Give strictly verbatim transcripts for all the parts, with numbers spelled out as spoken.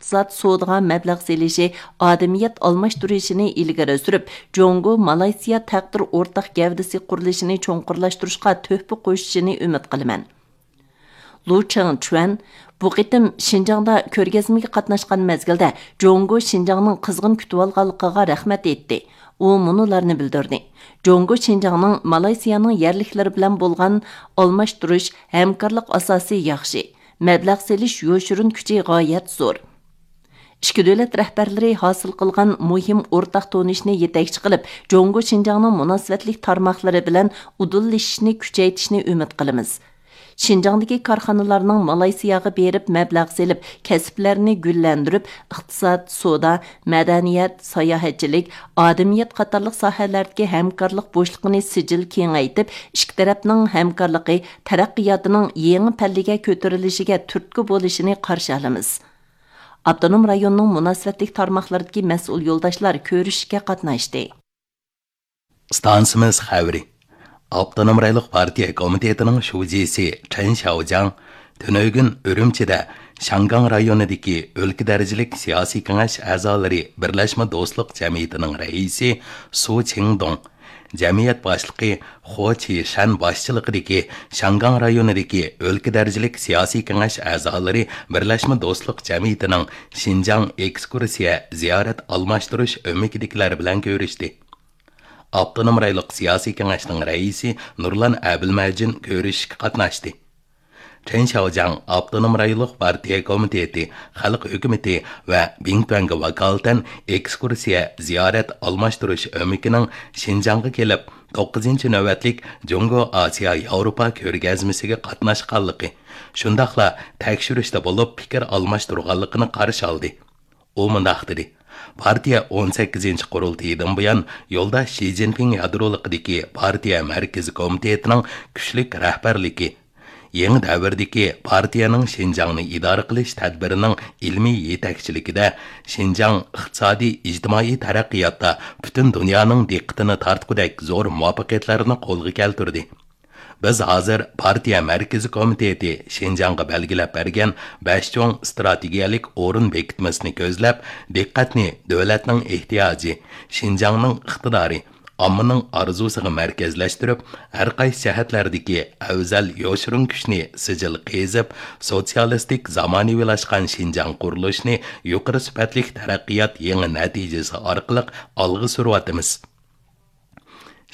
ئىقتىساد سودىغا مەبلەغ سېلىشى، ئادەمىيەت ئالماشتۇرۇشىنى ئىلگىرى سۈرۈپ، جۇڭگو مالايسىيا تەقدىر ئورتاق گەۋدىسى قۇرۇلۇشىنى چوڭقۇرلاشتۇرۇشقا تۆھپە قوشۇشىنى ئۈمىد قىلىمەن. لۇ چېڭچۈەن بۇ قېتىم شىنجاڭدا كۆرگەزمىگە قاتناشقان مەزگىلدە جۇڭگو شىنجاڭنىڭ قىزغىن كۈتۈۋالغانلىقىغا رەھمەت ئېيتتى. ئۇ مۇنۇلارنى بىلدۈردى: جۇڭگو شىنجاڭنىڭ مالايسىيانىڭ يەرلىكلىرى بىلەن بولغان ئالماشتۇرۇش، ھەمكارلىق ئاساسى ياخشى، مەبلەغ سېلىش يوشۇرۇن كۈچى غايەت زور. ئىككى دۆلەت رەھبەرلىرى ھاسىل قىلغان مۇھىم ئورتاق تونۇشنى يېتەكچى قىلىپ، جۇڭگو شىنجاڭنىڭ مۇناسىۋەتلىك تارماقلىرى بىلەن ئۇدۇللىشىشنى كۈچەيتىشنى ئۈمىد قىلىمىز. شىنجاڭدىكى كارخانىلارنىڭ مالايسىياغا بېرىپ مەبلەغ سېلىپ، كەسىپلەرنى گۈللەندۈرۈپ، ئىقتىساد، سودا، مەدەنىيەت، ساياھەتچىلىك، ئادەمىيەت قاتارلىق ساھەلەردىكى ھەمكارلىق بوشلۇقىنى سىجىل كېڭەيتىپ، ئىككى تەرەپنىڭ ھەمكارلىقى تەرەققىياتىنىڭ يېڭى پەللىگە كۆتۈرۈلۈشىگە تۈرتكە بولۇشىنى قارشى ئالىمىز. ئاپتونوم رايوننىڭ مۇناسىۋەتلىك تارماقلىرىدىكى مەسئۇل يولداشلار كۆرۈشۈشكە قاتناشتى. ئىستانسىمىز خەۋىرى. ئاپتونوم رايونلۇق پارتىيە كومىتېتىنىڭ شۇجىسى چېن شياۋجياڭ تۈنۈگۈن ئۈرۈمچىدە شياڭگاڭ رايونىدىكى ئۆلكە دەرىجىلىك سىياسىي كېڭەش ئەزالىرى بىرلەشمە دوستلۇق جەمئىيىتىنىڭ رەئىسى سۇ چىڭدۇڭ، جەمئىيەت باشلىقى خو چىشەن باشچىلىقىدىكى شياڭگاڭ رايونىدىكى ئۆلكە دەرىجىلىك سىياسىي كېڭەش ئەزالىرى بىرلەشمە دوستلۇق جەمئىيىتىنىڭ شىنجاڭ ئېكسكۇرسىيە زىيارەت ئالماشتۇرۇش ئۆمىكىدىكىلەر بىلەن كۆرۈشتى. ئاپتونوم رايونلۇق سىياسىي كېڭەشنىڭ رەئىسى نۇرلان ئەبىلمەجىن كۆرۈشۈشكە قاتناشتى. چېن شياۋجياڭ ئاپتونوم رايونلۇق پارتىيە كومىتېتى، خەلق ھۆكۈمىتى ۋە بىڭتۈەنگە ۋاكالىتەن ئېكسكۇرسىيە زىيارەت ئالماشتۇرۇش ئۆمىكىنىڭ شىنجاڭغا كېلىپ، توققۇزىنچى نۆۋەتلىك جۇڭگو ئاسىيا ياۋروپا كۆرگەزمىسىگە قاتناشقانلىقى، شۇنداقلا تەكشۈرۈشتە بولۇپ پىكىر ئالماشتۇرغانلىقىنى قارشى ئالدى. ئۇ مۇنداق دېدى: پارتىيە ئون سەككىزىنچى قۇرۇلتىيىدىن بۇيان يولداش شى جىنپىڭ يادرولۇقىدىكى پارتىيە مەركىزىي كومىتېتىنىڭ كۈچلۈك رەھبەرلىكى، يېڭى دەۋردىكى پارتىيەنىڭ شىنجاڭنى ئىدارە قىلىش تەدبىرىنىڭ ئىلمىي يېتەكچىلىكىدە شىنجاڭ ئىقتىسادىي، ئىجتىمائىي تەرەققىياتتا پۈتۈن دۇنيانىڭ دىققىتىنى تارتقۇدەك زور مۇۋەپپەقىيەتلەرنى قولغا كەلتۈردى. بىز ھازىر پارتىيە مەركىزىي كومىتېتى شىنجاڭغا بەلگىلەپ بەرگەن بەش چوڭ ئىستراتېگىيەلىك ئورۇن بېكىتمىسىنى كۆزلەپ، دىققەتنى دۆلەتنىڭ ئېھتىياجى، شىنجاڭنىڭ ئىقتىدارى، ئاممىنىڭ ئارزۇسىغا مەركەزلەشتۈرۈپ، ھەر قايسى جەھەتلەردىكى ئەۋزەل يوشۇرۇن كۈچنى سىجىل قېزىپ، سوتسىيالىستىك زامانىۋىلاشقان شىنجاڭ قۇرۇلۇشىنى يۇقىرى سۈپەتلىك تەرەققىيات يېڭى نەتىجىسى ئارقىلىق ئالغا سۈرۈۋاتىمىز.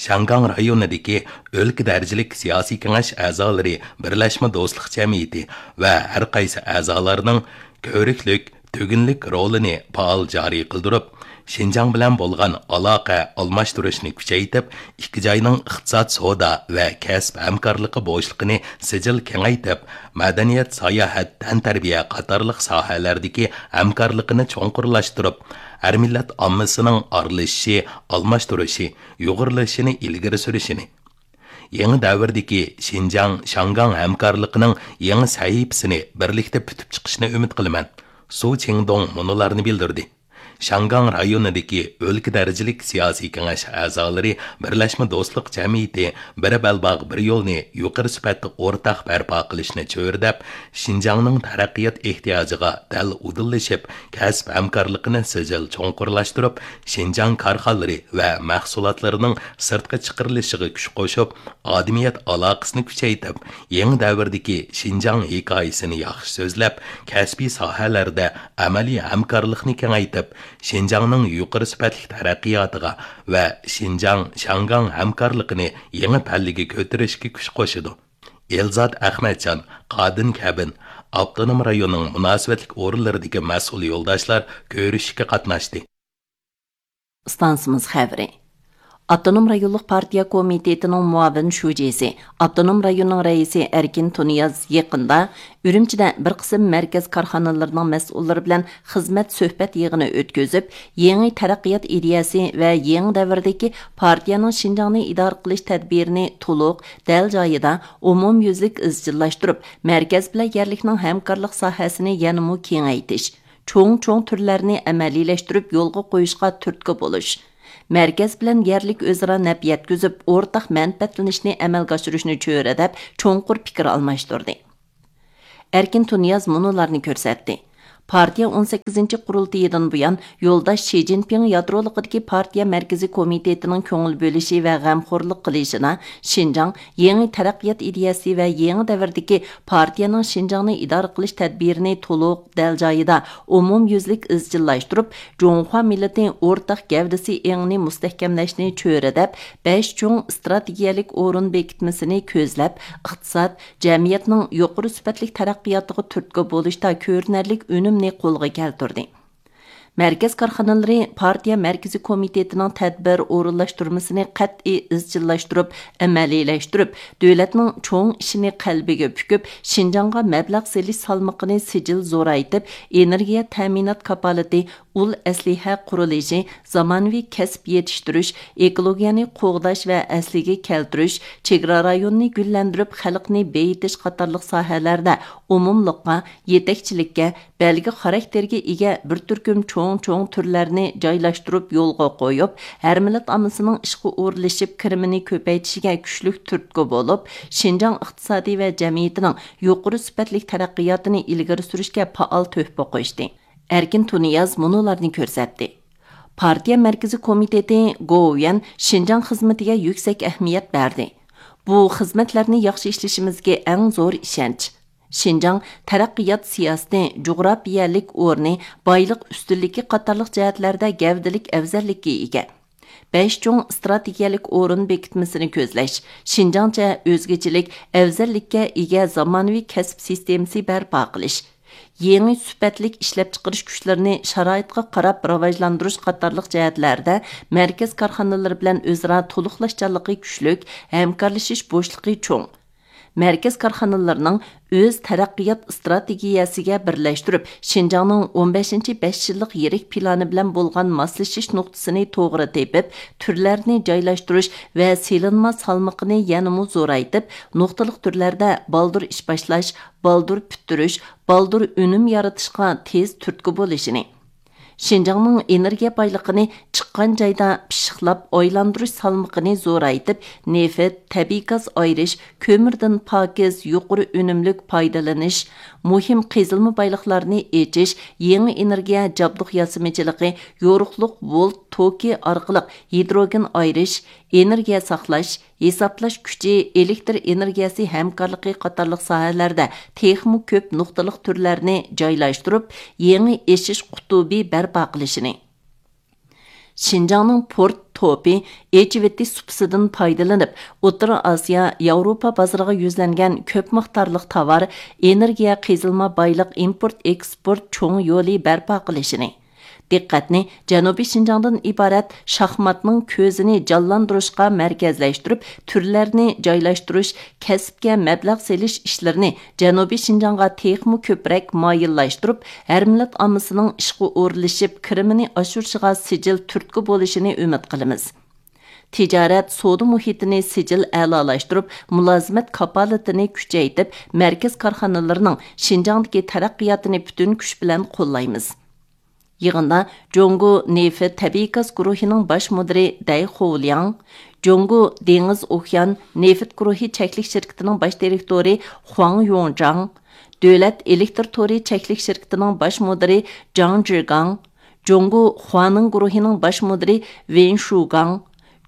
شياڭگاڭ رايونىدىكى ئۆلكە دەرىجىلىك سىياسىي كېڭەش ئەزالىرى بىرلەشمە دوستلۇق جەمئىيىتى ۋە ھەر قايسى ئەزالارنىڭ كۆرۈكلۈك، تۈگۈنلۈك رولىنى پائال جارى قىلدۇرۇپ، شىنجاڭ بىلەن بولغان ئالاقە ئالماشتۇرۇشنى كۈچەيتىپ، ئىككى جاينىڭ ئىقتىساد، سودا ۋە كەسىپ ھەمكارلىقى بوشلۇقىنى سىجىل كېڭەيتىپ، مەدەنىيەت، ساياھەت، تەنتەربىيە قاتارلىق ساھەلەردىكى ھەمكارلىقىنى چوڭقۇرلاشتۇرۇپ، ھەر مىللەت ئاممىسىنىڭ ئارىلىشىشى، ئالماشتۇرۇشى، يۇغۇرۇلۇشىنى ئىلگىرى سۈرۈشىنى، يېڭى دەۋردىكى شىنجاڭ شياڭگاڭ ھەمكارلىقىنىڭ يېڭى سەھىپىسىنى بىرلىكتە پۈتۈپ چىقىشىنى ئۈمىد قىلىمەن. سۇ چىڭدۇڭ مۇنۇلارنى بىلدۈردى: شياڭگاڭ رايونىدىكى ئۆلكە دەرىجىلىك سىياسىي كېڭەش ئەزالىرى بىرلەشمە دوستلۇق جەمئىيىتى بىر بەلباغ، بىر يولنى يۇقىرى سۈپەتتە ئورتاق بەرپا قىلىشنى چۆرىدەپ، شىنجاڭنىڭ تەرەققىيات ئېھتىياجىغا دەل ئۇدۇللىشىپ، كەسىپ ھەمكارلىقىنى سىجىل چوڭقۇرلاشتۇرۇپ، شىنجاڭ كارخانىلىرى ۋە مەھسۇلاتلىرىنىڭ سىرتقا چىقىرىلىشىغا كۈچ قوشۇپ، ئادەمىيەت ئالاقىسىنى كۈچەيتىپ، يېڭى دەۋردىكى شىنجاڭ ھېكايىسىنى ياخشى سۆزلەپ، كەسپىي ساھەلەردە ئەمەلىي ھەمكارلىقنى كېڭەيتىپ، شىنجاڭنىڭ يۇقىرى سۈپەتلىك تەرەققىياتىغا ۋە شىنجاڭ شياڭگاڭ ھەمكارلىقىنى يېڭى پەللىگە كۆتۈرۈشكە كۈچ قوشىدۇ. ئېلزات ئەخمەتجان، قادىن كەبىن، ئاپتونوم رايوننىڭ مۇناسىۋەتلىك ئورۇنلىرىدىكى مەسئۇل يولداشلار كۆرۈشۈشكە قاتناشتى. ئىستانسىمىز خەۋىرى. ئاپتونوم رايونلۇق پارتىيە كومىتېتىنىڭ مۇئاۋىن شۇجىسى، ئاپتونوم رايوننىڭ رەئىسى ئەركىن تۇنىياز يېقىندا ئۈرۈمچىدە بىر قىسىم مەركەز كارخانىلىرىنىڭ مەسئۇللىرى بىلەن خىزمەت سۆھبەت يىغىنى ئۆتكۈزۈپ، يېڭى تەرەققىيات ئىدىيەسى ۋە يېڭى دەۋردىكى پارتىيەنىڭ شىنجاڭنى ئىدارە قىلىش تەدبىرىنى تولۇق، دەل جايىدا، ئومۇميۈزلۈك ئىزچىللاشتۇرۇپ، مەركەز بىلەن يەرلىكنىڭ ھەمكارلىق ساھەسىنى يەنىمۇ كېڭەيتىش، چوڭ-چوڭ تۈرلەرنى ئەمەلىيلەشتۈرۈپ يولغا قويۇشقا تۈرتكە بولۇش، مەركەز بىلەن يەرلىك ئۆزئارا نەپ يەتكۈزۈپ، ئورتاق مەنپەئەتلىنىشنى ئەمەلگە ئاشۇرۇشنى چۆرىدەپ، چوڭقۇر پىكىر ئالماشتۇردى. ئەركىن تۇنىياز مۇنۇلارنى كۆرسەتتى: پارتىيە ئون سەككىزىنچى قۇرۇلتىيىدىن بۇيان، يولداش شى جىنپىڭ يادرولۇقىدىكى پارتىيە مەركىزىي كومىتېتىنىڭ كۆڭۈل بۆلۈشى ۋە غەمخورلۇق قىلىشىدا، شىنجاڭ يېڭى تەرەققىيات ئىدىيەسى ۋە يېڭى دەۋردىكى پارتىيەنىڭ شىنجاڭنى ئىدارە قىلىش تەدبىرىنى تولۇق، دەل جايىدا، ئومۇميۈزلۈك ئىزچىللاشتۇرۇپ، جۇڭخۇا مىللىتى ئورتاق گەۋدىسى ئېڭىنى مۇستەھكەملەشنى چۆرىدەپ، بەش چوڭ ئىستراتېگىيەلىك ئورۇن بېكىتمىسىنى كۆزلەپ، ئىقتىساد، جەمئىيەتنىڭ يۇقىرى سۈپەتلىك تەرەققىياتىغا تۈرتكە بولۇشتا كۆرۈنەرلىك ئۈنۈمنى قولغا كەلتۈردى. مەركەز كارخانىلىرى پارتىيە مەركىزىي كومىتېتىنىڭ تەدبىر ئورۇنلاشتۇرمىسىنى قەتئىي ئىزچىللاشتۇرۇپ، ئەمەلىيلەشتۈرۈپ، دۆلەتنىڭ چوڭ ئىشىنى قەلبىگە پۈكۈپ، شىنجاڭغا مەبلەغ سېلىش سالمىقىنى سىجىل زورايتىپ، ئېنېرگىيە تەمىنات كاپالىتى، ئۇل ئەسلىھە قۇرۇلۇشى، زامانىۋى كەسىپ يېتىشتۈرۈش، ئېكولوگىيەنى قوغداش ۋە ئەسلىگە كەلتۈرۈش، چېگرا رايونىنى گۈللەندۈرۈپ، خەلقنى بېيىتىش قاتارلىق ساھەلەردە ئومۇملۇققا، يېتەكچىلىككە، بەلگە خاراكتېرىگە ئىگە بىر تۈركۈم چوڭ-چوڭ تۈرلەرنى جايلاشتۇرۇپ يولغا قويۇپ، ھەر مىللەت ئاممىسىنىڭ ئىشقا ئورۇنلىشىپ، كىرىمىنى كۆپەيتىشىگە كۈچلۈك تۈرتكە بولۇپ، شىنجاڭ ئىقتىسادى ۋە جەمئىيىتىنىڭ يۇقىرى سۈپەتلىك تەرەققىياتىنى ئىلگىرى سۈرۈشكە پائال تۆھپە قوشتى. ئەركىن تۇنىياز مۇنۇلارنى كۆرسەتتى. پارتىيە مەركىزىي كومىتېتى گوۋۇيۈەن شىنجاڭ خىزمىتىگە يۈكسەك ئەھمىيەت بەردى. بۇ خىزمەتلەرنى ياخشى ئىشلىشىمىزگە ئەڭ زور ئىشەنچ. شىنجاڭ تەرەققىيات سىياسىتى، جۇغراپىيەلىك ئورنى، بايلىق ئۈستۈنلۈكى قاتارلىق جەھەتلەردە گەۋدىلىك ئەۋزەللىككە ئىگە. بەش چوڭ ئىستراتېگىيەلىك ئورۇن بېكىتمىسىنى كۆزلەش، شىنجاڭچە ئۆزگىچىلىك، ئەۋزەللىككە ئىگە زامانىۋى كەسىپ سىستېمىسى بەرپا قىلىش، يېڭى سۈپەتلىك ئىشلەپچىقىرىش كۈچلىرىنى شارائىتقا قاراپ راۋاجلاندۇرۇش قاتارلىق جەھەتلەردە مەركەز كارخانىلىرى بىلەن ئۆزئارا تولۇقلاشچانلىقى كۈچلۈك، ھەمكارلىشىش بوشلۇقى چوڭ. مەركەز كارخانىلىرىنىڭ ئۆز تەرەققىيات ئىستراتېگىيەسىگە بىرلەشتۈرۈپ، شىنجاڭنىڭ ئون بەشىنچى بەش يىللىق يىرىك پىلانى بىلەن بولغان ماسلىشىش نۇقتىسىنى توغرا تېپىپ، تۈرلەرنى جايلاشتۇرۇش ۋە سېلىنما سالمىقىنى يەنىمۇ زورايتىپ، نۇقتىلىق تۈرلەردە بالدۇر ئىش باشلاش، بالدۇر پۈتتۈرۈش، بالدۇر ئۈنۈم يارىتىشقا تېز تۈرتكە بولۇشىنى، شىنجاڭنىڭ ئېنېرگىيە بايلىقىنى چىققان جايدا پىششىقلاپ ئايلاندۇرۇش سالمىقىنى زورايتىپ، نېفىت، تەبىئىي گاز ئايرىش، كۆمۈردىن پاكىز، يۇقىرى ئۈنۈملۈك پايدىلىنىش، مۇھىم قېزىلما بايلىقلارنى ئېچىش، يېڭى ئېنېرگىيە جابدۇق ياسىمىچىلىقى، يورۇقلۇق ۋولت توكى ئارقىلىق ھىدروگېن ئايرىش، ئېنېرگىيە ساقلاش، ھېسابلاش كۈچى، ئېلېكتر ئېنېرگىيەسى ھەمكارلىقى قاتارلىق ساھەلەردە تېخىمۇ كۆپ نۇقتىلىق تۈرلەرنى جايلاشتۇرۇپ، يېڭى ئېشىش قۇتۇبى بەرپا قىلىشىنى، شىنجاڭنىڭ پورت توپى ئېچىۋېتىش سۇپىسىدىن پايدىلىنىپ، ئوتتۇرا ئاسىيا، ياۋروپا بازىرىغا يۈزلەنگەن كۆپ مىقدارلىق تاۋار، ئېنېرگىيە، قېزىلما بايلىق ئىمپورت ئېكسپورت چوڭ يولى بەرپا قىلىشىنى، دىققەتنى جەنۇبىي شىنجاڭدىن ئىبارەت شاھماتنىڭ كۆزىنى جانلاندۇرۇشقا مەركەزلەشتۈرۈپ، تۈرلەرنى جايلاشتۇرۇش، كەسىپكە مەبلەغ سېلىش ئىشلىرىنى جەنۇبىي شىنجاڭغا تېخىمۇ كۆپرەك مايىللاشتۇرۇپ، ھەر مىللەت ئاممىسىنىڭ ئىشقا ئورۇنلىشىپ، كىرىمىنى ئاشۇرۇشىغا سىجىل تۈرتكە بولۇشىنى ئۈمىد قىلىمىز. تىجارەت، سودا مۇھىتىنى سىجىل ئەلالاشتۇرۇپ، مۇلازىمەت كاپالىتىنى كۈچەيتىپ، مەركەز كارخانىلىرىنىڭ شىنجاڭدىكى تەرەققىياتىنى پۈتۈن كۈچ بىلەن قوللايمىز. يىغىندا جۇڭگو نېفىت تەبىئىي گاز گۇرۇھىنىڭ باش مۇدىرى دەي خولياڭ، جۇڭگو دېڭىز ئوكيان نېفىت گۇرۇھى چەكلىك شىركىتىنىڭ باش دىرېكتورى خۇاڭ يۇڭجاڭ، دۆلەت ئېلېكتر تورى چەكلىك شىركىتىنىڭ باش مۇدىرى جاڭ جىگاڭ، جۇڭگو خۇانىڭ گۇرۇھىنىڭ باش مۇدىرى ۋېن شۇگاڭ،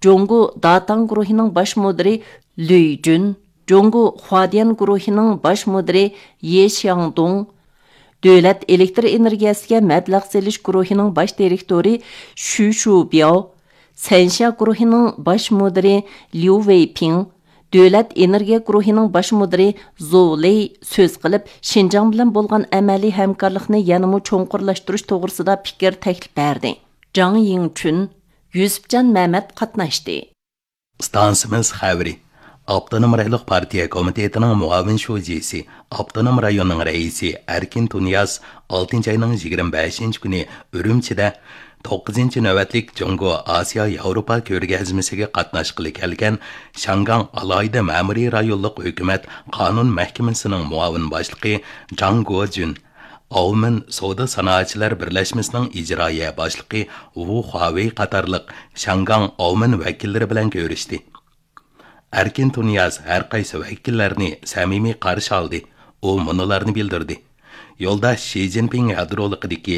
جۇڭگو داتاڭ گۇرۇھىنىڭ باش مۇدىرى لۈي جۈن، جۇڭگو خۇادىيەن گۇرۇھىنىڭ باش مۇدىرى يې شياڭدۇڭ، دۆلەت ئېلېكتر ئېنېرگىيەسىگە مەبلەغ سېلىش گۇرۇھىنىڭ باش دىرېكتورى شۈ شۇبياۋ، سەنشيا گۇرۇھىنىڭ باش مۇدىرى ليۇ ۋېيپىڭ، دۆلەت ئېنېرگىيە گۇرۇھىنىڭ باش مۇدىرى زو لېي سۆز قىلىپ، شىنجاڭ بىلەن بولغان ئەمەلىي ھەمكارلىقنى يەنىمۇ چوڭقۇرلاشتۇرۇش توغرىسىدا پىكىر تەكلىپ بەردى. جاڭ يىڭچۈن، يۈسۈپجان مەمەت قاتناشتى. ئىستانسىمىز خەۋىرى. ئاپتونوم رايونلۇق پارتىيە كومىتېتىنىڭ مۇئاۋىن شۇجىسى، ئاپتونوم رايوننىڭ رەئىسى ئەركىن تۇنىياز ئالتىنچى ئاينىڭ يىگىرمە بەشىنچى كۈنى ئۈرۈمچىدە توققۇزىنچى نۆۋەتلىك جۇڭگو ئاسىيا ياۋروپا كۆرگەزمىسىگە قاتناشقىلى كەلگەن شياڭگاڭ ئالاھىدە مەمۇرىي رايونلۇق ھۆكۈمەت قانۇن مەھكىمىسىنىڭ مۇئاۋىن باشلىقى جاڭ گوجۈن، ئاۋمېن سودا سانائەتچىلەر بىرلەشمىسىنىڭ ئىجرائىيە باشلىقى ۋۇ خۇاۋېي قاتارلىق شياڭگاڭ ئاۋمېن ۋەكىللىرى بىلەن كۆرۈشتى. ئەركىن تۇنىياز ھەر قايسى ۋەكىللەرنى سەمىمىي قارشى ئالدى. ئۇ مۇنۇلارنى بىلدۈردى: يولداش شى جىنپىڭ يادرولۇقىدىكى